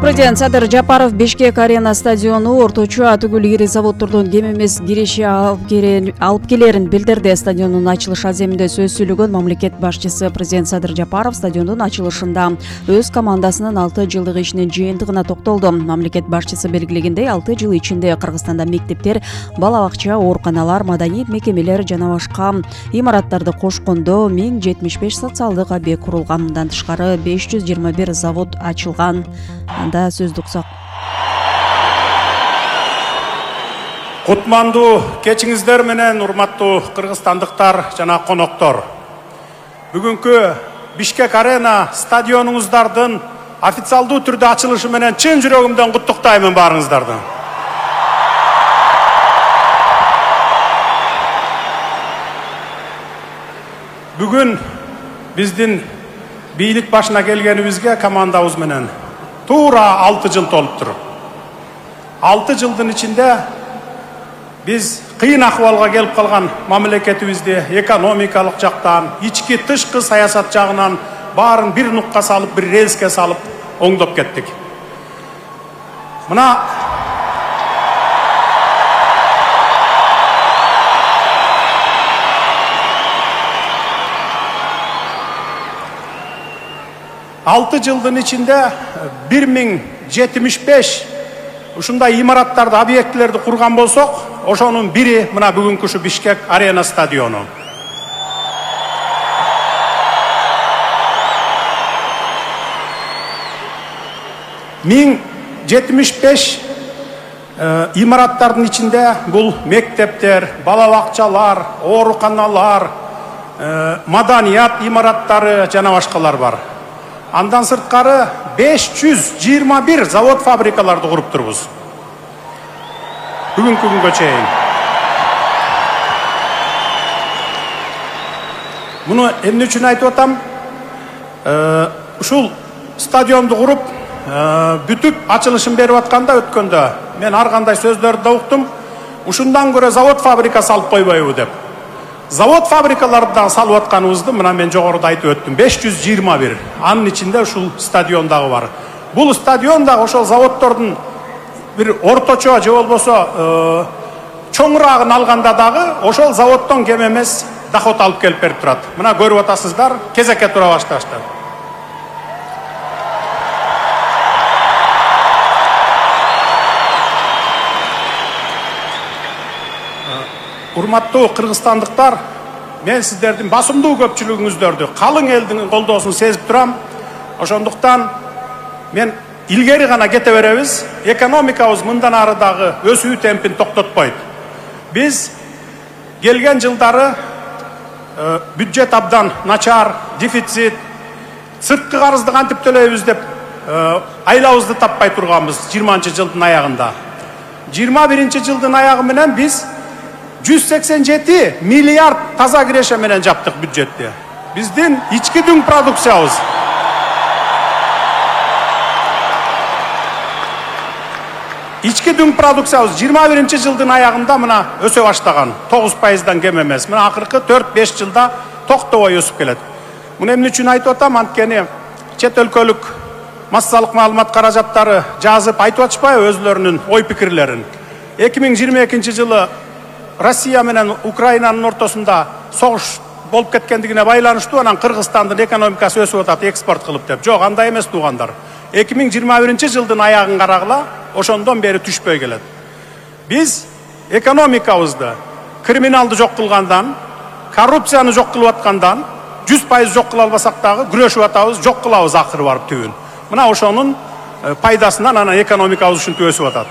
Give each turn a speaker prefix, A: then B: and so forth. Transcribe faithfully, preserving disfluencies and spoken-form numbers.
A: Президент Садыр Жапаров Бишкек арена стадиону орточо атүгүл ири заводдордун кем эмес кириши алып келерин билдирди. Стадиондун ачылыш аземинде сөз сүйлөгөн мамлекет башчысы президент Садыр Жапаров стадиондун ачылышында өз командасынын алты жылдык ишинин жыйынтыгына токтолду. Мамлекет башчысы белгилегендей, алты жыл ичинде Кыргызстанда мектептер, бала бакча, ооруканалар, маданий мекемелер жана башка имараттарды кошкондо миң жетимиш беш социалдык объект курулган. Мындан тышкары беш жүз жыйырма бир завод ачылган. Анда сөз дуксак.
B: Кутмандуу кечиңиздер менен урматтуу кыргызстандыктар жана коноктор. Бүгүнкү Бишкек арена стадионуңуздардын официалдуу түрдө ачылышы менен чын жүрөгүмдөн куттуктаймын баарыңыздарды. Бүгүн биздин бийлик башына келгенибизге командабыз менен туура алты жыл толуптур. алты жылдын ичинде биз кыйын акыбалга келип калган мамлекетибизди экономикалык жактан, ички тышкы саясат жагынан баарын бир нукка салып, бир рельске салып оңдоп кеттик. Мына алты жылдын ичинде бир миң жетимиш беш ушундай имараттарды, объектилерди курган болсок, ошонун бири мына бүгүнкү ушу Бишкек арена стадиону. миң жетимиш беш имараттардын ичинде бул мектептер, бала бакчалар, ооруканалар, маданият имараттары жана башкалар бар. Андан сырткары беш жүз жыйырма бир завод фабрикаларды куруп турбуз. Бүгүнкү күнгө чейин. Муну эмне үчүн айтып атам? Ушул стадионду куруп, бүтүп ачылышын берип атканда өткөндө мен ар кандай сөздөрдү да уктум. Ушундан көрө завод фабрика салып койбойбу деп. Завод фабрикаларды да салып атканыбызды мына мен жогоруда айтып өттүм. беш жүз жыйырма бир. Анын ичинде ушул стадион дагы бар. Бул стадион да ошол заводдордун бир орточо же болбосо чоңураагын алганда дагы ошол заводдон кем эмес доход алып келип берип турат. Мына көрүп атасыздар, кезекке тура башташты. Урматтуу кыргызстандыктар, мен сиздердин басымдуу көпчүлүгүңүздөрдү, калың элдин колдоосун сезип турам. Ошондуктан мен илгери гана кете беребиз. Экономикабыз мындан ары дагы өсүү темпин токтотпойт. Биз келген жылдары бюджет абдан начар, дефицит, сырткы карызды кантип төлөйбүз деп айлабызды таппай турганбыз жыйырманчы жылдын аягында. жыйырма биринчи жылдын аягы менен биз жүз сексен жети миллиард таза киреше менен жаптык бюджетти. Биздин ички дүң продукциябыз ички дүң продукциябыз жыйырма биринчи жылдын аягында мына өсө баштаган. тогуз пайыздан кем эмес. Мына акыркы төрт беш жылда токтобой өсүп келет. Муну эмне үчүн айтып атам? Анткени чет өлкөлүк массалык маалымат каражаттары жазып айтып атышпайбы өзлөрүнүн ой пикирлерин. эки миң жыйырма экинчи жылы Россия менен Украинанын ортосунда согуш болуп кеткендигине байланыштуу анан Кыргызстандын экономикасы өсүп атат экспорт кылып деп. Жок, андай эмес туугандар. эки миң жыйырма биринчи жылдын аягын карагыла, ошондон бери түшпөй келет. Биз экономикабызды криминалды жок кылгандан, коррупцияны жок кылып аткандан жүз пайыз жок кыла албасак дагы күрөшүп атабыз, жок кылабыз акыры барып түбүн. Мына ошонун пайдасынан анан экономикабыз ушинтип өсүп атат.